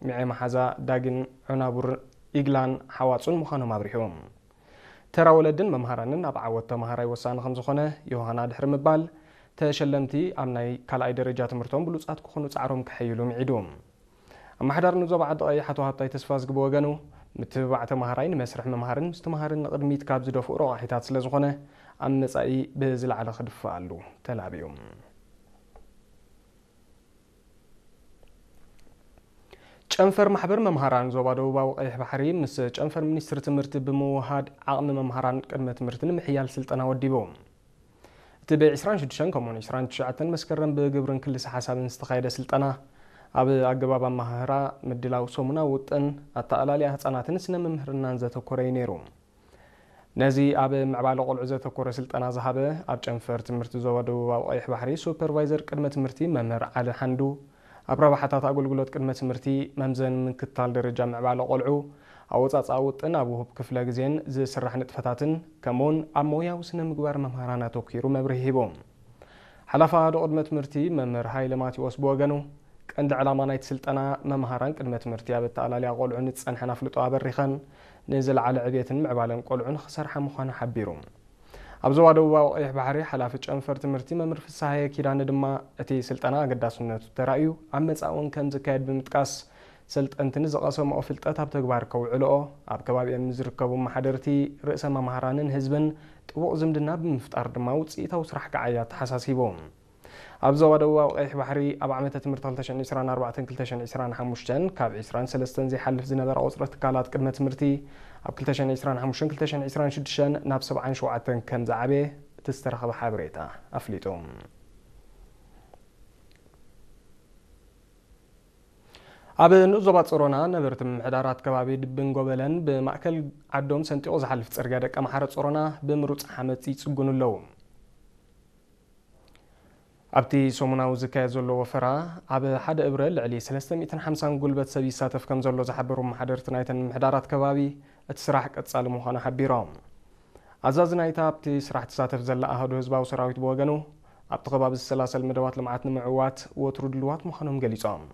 ሚዐ መሓዛ ዳግን ዑናቡር ኢግላን ሓዋጹን ምዃኖም ኣብሪሁ። ተራ ወለድን መምሃራንን ኣብ ዓወት ተማሃራይ ወሳኒ ከም ዝኾነ ዮሃና ድሕሪ ምባል፣ ተሸለምቲ ኣብ ናይ ካልኣይ ደረጃ ትምህርቶም ብሉጻት ክኾኑ ጻዕሮም ከሐይሉ ምዒዱ። ኣመሓዳሪ ንዞባ ዓዲ ቀይሕ ኣቶ ሃብታይ ተስፋዝጊ ብወገኑ፣ ምትብባዕ ተማሃራይ ንመስርሕ ምምሃርን ምስትምሃርን ንቕድሚት ካብ ዝደፍኡ ረቋሒታት ስለ ዝኾነ፣ ኣብ መጻኢ ብዝለዓለ ክድፍኣሉ ተላብዩ። ጨንፈር ማሕበር መምሃራን ዞባ ደቡባዊ ቀይሕ ባሕሪ ምስ ጨንፈር ሚኒስትሪ ትምህርቲ ብምውሃድ ዓቕሚ መምሃራን ቅድመ ትምህርቲ ንምሕያል ስልጠና ወዲቡ። እቲ ብ ዕስራን ሽዱሽተን ከምኡውን ዕስራን ትሽዓተን መስከረም ብግብርን ክልሰ ሓሳብን ዝተኻየደ ስልጠና ኣብ ኣገባብ ኣመሃህራ፣ ምድላው ሰሙናዊ ውጥን፣ ኣተኣላልያ ህጻናትን ስነ ምምህርናን ዘተኮረ እዩ ነይሩ። ነዚ ኣብ ምዕባለ ቆልዑ ዘተኮረ ስልጠና ዝሃበ ኣብ ጨንፈር ትምህርቲ ዞባ ደቡባዊ ቀይሕ ባሕሪ ሱፐርቫይዘር ቅድመ ትምህርቲ መምህር ዓሊ ሓንዱ፣ ኣብ ረብሓታት ኣገልግሎት ቅድመ ትምህርቲ መምዘኒ ምክትታል ደረጃ ምዕባለ ቆልዑ፣ ኣወጻጽኣ ውጥን ኣብ ውሁብ ክፍለ ግዜን ዝስራሕ ንጥፈታትን ከምኡውን ኣብ ሞያዊ ስነ ምግባር መምህራን ኣተኲሩ መብርሂ ሂቡ። ሓላፊ ኣሃዱ ቅድመ ትምህርቲ መምህር ሃይለ ማቴዎስ ብወገኑ፣ ቀንዲ ዕላማ ናይቲ ስልጠና መምሃራን ቅድመ ትምህርቲ ኣብ ኣተኣላልያ ቆልዑ ንዝጸንሐን ኣፍልጦ ኣበሪኸን ንዝለዓለ ዕብየትን ምዕባለን ቆልዑ ንኽሰርሓ ምዃኑ ሓቢሩ። ኣብ ዞባ ደቡባዊ ቀይሕ ባሕሪ ሓላፊ ጨንፈር ትምህርቲ መምህር ፍስሃየ ኪዳነ ድማ፣ እቲ ስልጠና ኣገዳስነቱ ተራእዩ ኣብ መጻኢ እውን ከም ዝካየድ ብምጥቃስ፣ ሰልጠንቲ ንዝቐሰምኦ ፍልጠት ኣብ ተግባር ከውዕልኦ፣ ኣብ ከባቢኦም ንዝርከቡ ኣመሓደርቲ፣ ርእሰ መምሃራንን ህዝብን ጥቡቕ ዝምድና ብምፍጣር ድማ ውጽኢታዊ ስራሕ ክዓይ ኣተሓሳሲቡ። ኣብ ዞባ ደቡባዊ ቀይሕ ባሕሪ ኣብ ዓመተ ትምህርቲ ክልተ ሽሕን ዕስራን ኣርባዕተን ክልተ ሽሕን ዕስራን ሓሙሽተን ካብ ዕስራን ሰለስተን ዘይሓልፍ ዝነበረ ቁጽሪ ትካላት ቅድመ ትምህርቲ ኣብ ክልተ ሽሕን ዕስራን ሓሙሽተን ክልተ ሽሕን ዕስራን ሽዱሽተን ናብ ሰብዓን ሸውዓተን ከም ዝዓበየ እቲ ዝተረኸበ ሓበሬታ ኣፍሊጡ። ኣብ ንኡስ ዞባ ጾሮና ነበርቲ ምምሕዳራት ከባቢ ድብን ጎበለን ብማእከል ዓዶም ሰንጢቑ ዝሓልፍ ጽርግያ ደቀ ማሕረ ጾሮና ብምሩጽ ሓመድ ይጽግኑ ኣለዉ። ኣብቲ ሰሙናዊ ዝካየድ ዘሎ ወፈራ፣ ኣብ ሓደ እብረ ልዕሊ ሰለስተ ሚእትን ሓምሳን ጉልበት ሰብ ይሳተፍ ከም ዘሎ ዝሓበሩ ኣመሓደርቲ ናይተን ምምሕዳራት ከባቢ፣ እቲ ስራሕ ቀጻሊ ምዃኑ ሓቢሮም። ኣዛዚ ናይታ ኣብቲ ስራሕ ትሳተፍ ዘላ ኣሃዱ ህዝባዊ ሰራዊት ብወገኑ፣ ኣብቲ ከባቢ ዝሰላሰል መደባት ልምዓት ንምዕዋት ወትሩ ድልዋት ምዃኖም ገሊጾም።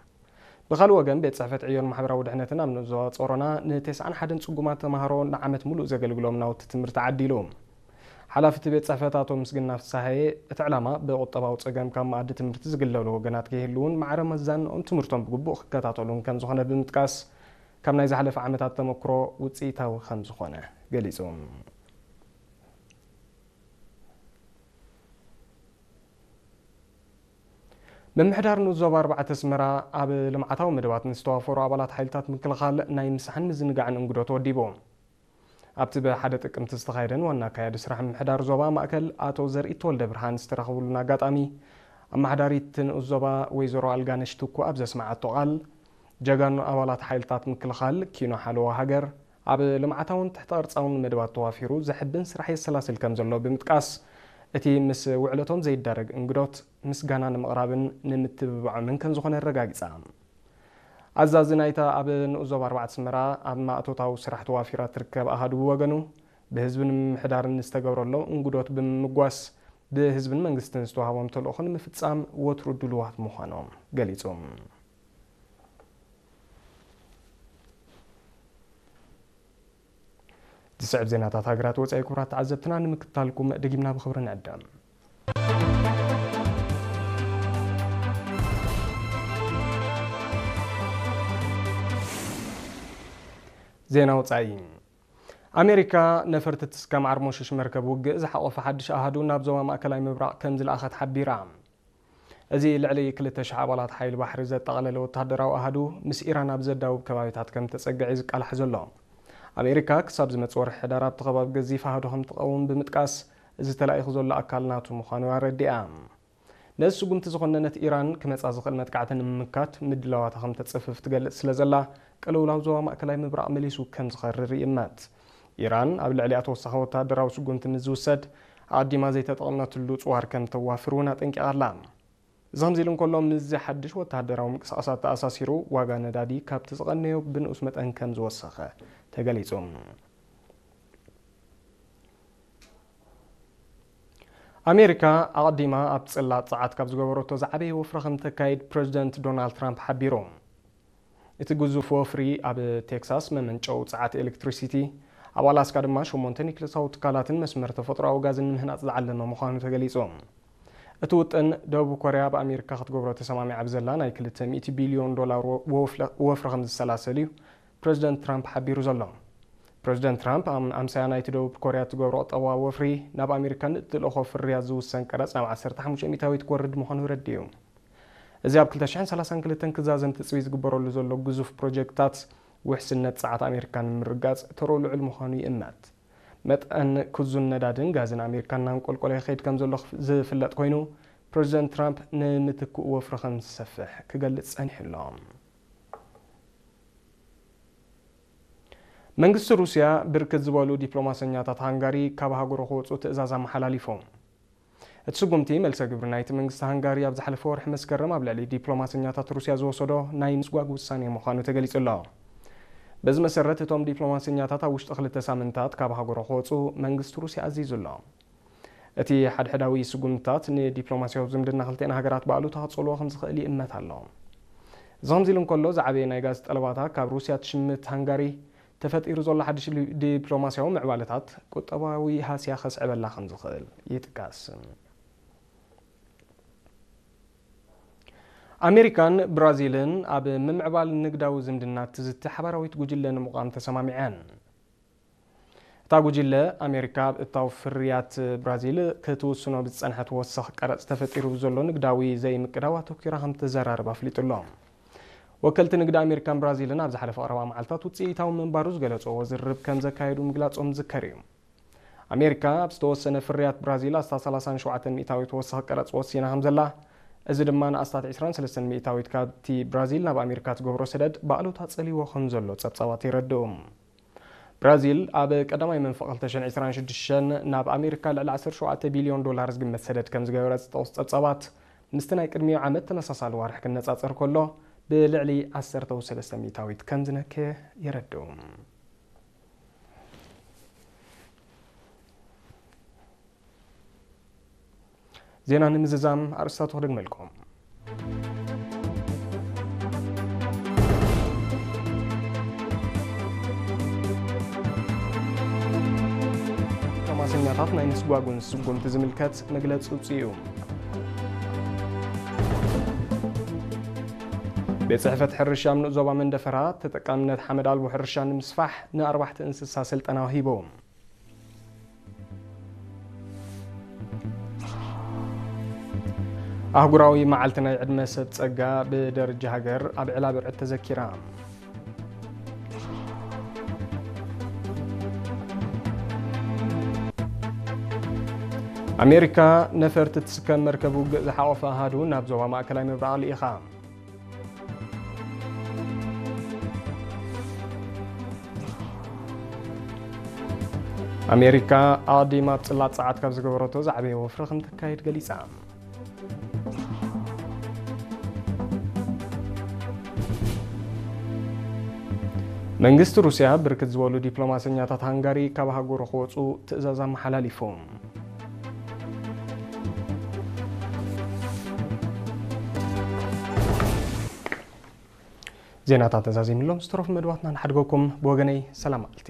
ብኻልእ ወገን፣ ቤት ጽሕፈት ዕዮን ማሕበራዊ ድሕነትን ኣብ ንኡስ ዞባ ጾሮና ንተስዓን ሓደን ጽጉማት ተማሃሮ ንዓመት ምሉእ ዘገልግሎም ናውቲ ትምህርቲ ዓዲሉ። ሓላፊ እቲ ቤት ጽሕፈት ኣቶ ምስግና ፍስሃየ፣ እቲ ዕላማ ብቁጠባዊ ጸገም ካብ መኣዲ ትምህርቲ ዝግለሉ ወገናት ከይህልዉን ማዕረ መዛንኦም ትምህርቶም ብግቡእ ክከታተሉን ከም ዝኾነ ብምጥቃስ፣ ካብ ናይ ዝሓለፈ ዓመታት ተመክሮ ውጽኢታዊ ከም ዝኾነ ገሊጹ። ምምሕዳር ንኡስ ዞባ ኣርባዕተ ኣስመራ ኣብ ልምዓታዊ መደባት ንዝተዋፈሩ ኣባላት ሓይልታት ምክልኻል ናይ ምሳሕን ምዝንጋዕን እንግዶ ተወዲቡ። ኣብቲ ብሓደ ጥቅምቲ ዝተኻየደን ዋና ኣካያዲ ስራሕ ምምሕዳር ዞባ ማእከል ኣቶ ዘርኢ ተወልደ ብርሃን ዝተረኸብሉን ኣጋጣሚ፣ ኣመሓዳሪት ንኡስ ዞባ ወይዘሮ ኣልጋነሽ ትኩ ኣብ ዘስመዓቶ ቃል፣ ጀጋኑ ኣባላት ሓይልታት ምክልኻል ኪኖ ሓለዋ ሃገር ኣብ ልምዓታውን ትሕተ ቅርጻውን መደባት ተዋፊሩ ዘሕብን ስራሕ የሰላስል ከም ዘሎ ብምጥቃስ፣ እቲ ምስ ውዕለቶም ዘይዳረግ እንግዶት ምስጋና ንምቕራብን ንምትብባዖምን ከም ዝኾነ ኣረጋጊጻ። ኣዛዚ ናይታ ኣብ ንኡስ ዞባ ኣርባዕተ ኣስመራ ኣብ ማእቶታዊ ስራሕ ተዋፊራ ትርከብ ኣሃዱ ብወገኑ፣ ብህዝብን ምምሕዳርን ዝተገብረሎ እንግዶት ብምምጓስ፣ ብህዝብን መንግስትን ዝተዋህቦም ተልእኾ ንምፍጻም ወትሩ ድሉዋት ምዃኖም ገሊጹ። ዝስዕብ ዜናታት ሃገራት ወጻኢ ክቡራት ተዓዘብትና ንምክትታልኩም ደጊምና ብኽብሪ ንዕደም። ዜና ወጻኢ። ኣሜሪካ ነፈርቲ ትስከም ዓርሞሽሽ መርከብ ውግእ ዝሓቖፈ ሓድሽ ኣሃዱ ናብ ዞባ ማእከላይ ምብራቕ ከም ዝለኣኸት ሓቢራ። እዚ ልዕሊ ክልተ ሽሕ ኣባላት ሓይሊ ባሕሪ ዘጠቓለለ ወተሃደራዊ ኣሃዱ ምስ ኢራን ኣብ ዘዳውብ ከባቢታት ከም ተጸግዐ እዩ ዝቃላሕ ዘሎ። ኣሜሪካ ክሳብ ዝመጽእ ወርሒ ሕዳር ኣብቲ ከባቢ ገዚፍ ኣሃዱ ከም ትቐውም ብምጥቃስ፣ እዚ ተላኢኹ ዘሎ ኣካል ናቱ ምዃኑ ኣረዲኣ። ነዚ ስጉምቲ ዝኾነነት ኢራን ክመጻ ዝኽእል መጥቃዕቲ ንምምካት ምድላዋታ ከም ተጽፍፍ ትገልጽ ስለ ዘላ፣ ቅልውላው ዞባ ማእከላይ ምብራቕ መሊሱ ከም ዝኸርር ይእመት። ኢራን ኣብ ልዕሊኣ ተወሳኺ ወተሃደራዊ ስጉምቲ ምስ ዝውሰድ፣ ኣቐዲማ ዘይተጠቕመትሉ ጽዋር ከም ተዋፍር እውን ኣጠንቂቓ ኣላ። እዚ ከምዚ ኢሉ እንከሎ፣ ምስዚ ሓድሽ ወተሃደራዊ ምንቅስቓሳት ተኣሳሲሩ፣ ዋጋ ነዳዲ ካብቲ ዝቐነዮ ብንኡስ መጠን ከም ዝወሰኸ ተገሊጹ። ኣሜሪካ ኣቐዲማ ኣብ ጽላት ጸዓት ካብ ዝገበረቶ ዝዓበየ ወፍሪ ከም ተካይድ ፕረዚደንት ዶናልድ ትራምፕ ሓቢሩ። እቲ ግዙፍ ወፍሪ ኣብ ቴክሳስ መመንጨዊ ጸዓት ኤሌክትሪሲቲ፣ ኣብ ኣላስካ ድማ ሸሞንተ ኒክለሳዊ ትካላትን መስመር ተፈጥሮኣዊ ጋዝን ንምህናጽ ዝዓለመ ምዃኑ ተገሊጹ። እቲ ውጥን፣ ደቡብ ኮርያ ኣብ ኣሜሪካ ክትገብሮ ተሰማሚዓ ብዘላ ናይ ክልተ ሚእቲ ቢልዮን ዶላር ወ-፣ ወፍለ-፣ ወፍሪ ከም ዝሰላሰል እዩ ፕረዚደንት ትራምፕ ሓቢሩ ዘሎ። ፕረዚደንት ትራምፕ፣ ኣም-፣ ኣምሳያ ናይቲ ደቡብ ኮርያ እትገብሮ ቁጠባዊ ወፍሪ፣ ናብ ኣሜሪካ ንእትልእኾ ፍርያት ዝውሰን ቀረጽ ናብ ዓሰርተ ሓሙሽተ ሚእታዊት ክወርድ ምዃኑ ረዲኡ። እዚ ኣብ ክልተ ሽሕን ሰላሳን ክልተን ክዛዘም ትጽቢት ዝግበረሉ ዘሎ ግዙፍ ፕሮጀክትታት፣ ውሕስነት ጸዓት ኣሜሪካ ንምርጋጽ ተርኡ ልዑል ምዃኑ ይእመት። መጠን ክዙን ነዳድን ጋዝን ኣሜሪካ እናንቆልቆለ ይኸይድ ከም ዘሎ ዝፍለጥ ኮይኑ፣ ፕረዚደንት ትራምፕ ንምትክኡ ወፍሪ ከም ዝሰፍሕ ክገልጽ ጸኒሑ ኣሎ። መንግስቲ ሩስያ ብርክት ዝበሉ ዲፕሎማሰኛታት ሃንጋሪ ካብ ሃገሩ ክወጹ ትእዛዝ ኣመሓላሊፉ። እቲ ስጉምቲ፣ መልሰ ግብሪ ናይቲ መንግስቲ ሃንጋሪ ኣብ ዝሓለፈ ወርሒ መስከረም ኣብ ልዕሊ ዲፕሎማሰኛታት ሩስያ ዝወሰዶ ናይ ምስጓግ ውሳኔ ምዃኑ ተገሊጹ ኣሎ። በዚ መሰረት፣ እቶም ዲፕሎማሰኛታት ኣብ ውሽጢ ክልተ ሳምንታት ካብ ሃገሩ ክወጹ መንግስቲ ሩስያ ኣዚዙ ኣሎ። እቲ ሓድሕዳዊ ስጉምትታት ንዲፕሎማስያዊ ዝምድና ክልቲኣን ሃገራት ብኣሉታ ክጸልዎ ከም ዝኽእል ይእመት ኣሎ። እዚ ከምዚ ኢሉ እንከሎ፣ ዝዓበየ ናይ ጋዝ ጠለባታ ካብ ሩስያ ትሽምት ሃንጋሪ፣ ተፈጢሩ ዘሎ ሓድሽ ሊ-፣ ዲፕሎማስያዊ ምዕባለታት ቁጠባዊ ሃስያ ከስዕበላ ከም ዝኽእል ይጥቀስ። ኣሜሪካን ብራዚልን ኣብ ምምዕባል ንግዳዊ ዝምድና ትዝቲ ሓባራዊት ጉጅለ ንምቋም ተሰማሚዐን። እታ ጉጅለ፣ ኣሜሪካ ኣብ እታው ፍርያት ብራዚል ክትውስኖ ብዝጸንሐት ወሰኽ ቀረጽ ተፈጢሩ ብዘሎ ንግዳዊ ዘይምቅዳው ኣተኲራ ከም ትዘራረብ ኣፍሊጡ ኣሎ። ወከልቲ ንግዲ ኣሜሪካን ብራዚልን ኣብ ዝሓለፈ ቀረባ መዓልታት ውጽኢታዊ ምንባሩ ዝገለጽዎ ዝርርብ ከም ዘካየዱ ምግላጾም ዝዝከር እዩ። ኣሜሪካ ኣብ ዝተወሰነ ፍርያት ብራዚል ኣስታት ሰላሳን ሸውዓተን ሚእታዊት ወሰኽ ቀረጽ ወሲና ከም ዘላ፣ እዚ ድማ ንኣስታት ዕስራን ሰለስተን ሚእታዊት ካብቲ ብራዚል ናብ ኣሜሪካ ትገብሮ ሰደድ ብኣሉታ ጸልይዎ ከም ዘሎ ጸብጻባት የረድኡ። ብራዚል ኣብ ቀዳማይ መንፈቕ ክልተ ሽሕን ዕስራን ሽዱሽተን ናብ ኣሜሪካ ልዕሊ ዓሰርተ ሸውዓተ ቢልዮን ዶላር ዝግመት ሰደድ ከም ዝገበረት ዝጠቕሱ ጸብጻባት፣ ምስቲ ናይ ቅድሚኡ ዓመት ተመሳሳሊ ዋርሕ ክነጻጸር ከሎ፣ ብልዕሊ ዓሰርተ ሰለስተ ሚእታዊት ከም ዝነከየ የረድኡ። ዜና ንምዝዛም ኣርእስታቱ ክደግመልኩም። ዲፕሎማሰኛታት ናይ ምስጓጉን ስጉምቲ ዝምልከት መግለጺ ውጽኡ። ቤት ጽሕፈት ሕርሻ ኣብ ንኡስ ዞባ መንደፈራ፣ ተጠቃምነት ሓመድ ኣልቦ ሕርሻ ንምስፋሕ ንኣርባሕቲ እንስሳ ስልጠና ሂቡ። ኣህጉራዊ መዓልቲ ናይ ዕድመ ሰብ ጸጋ ብደረጃ ሃገር ኣብ ዕላ ብርዕት ተዘኪራ። ኣሜሪካ ነፈርቲ ትስከም መርከብ ውግእ ዝሓቖፈ ኣሃዱ ናብ ዞባ ማእከላይ ምብራቕ ልኢኻ። ኣሜሪካ ኣቐዲማ ኣብ ጽላት ጸዓት ካብ ዝገበረቶ ዝዓበየ ወፍሪ ከም ተካይድ ገሊጻ። መንግስቲ ሩስያ ብርክት ዝበሉ ዲፕሎማሰኛታት ሃንጋሪ ካብ ሃገሩ ክወጹ ትእዛዝ ኣመሓላሊፉ። ዜናታት ተዛዚምሎም ዝተረፉ መድባትና ንሓድገኩም። ብወገነይ ሰላም መዓልቲ።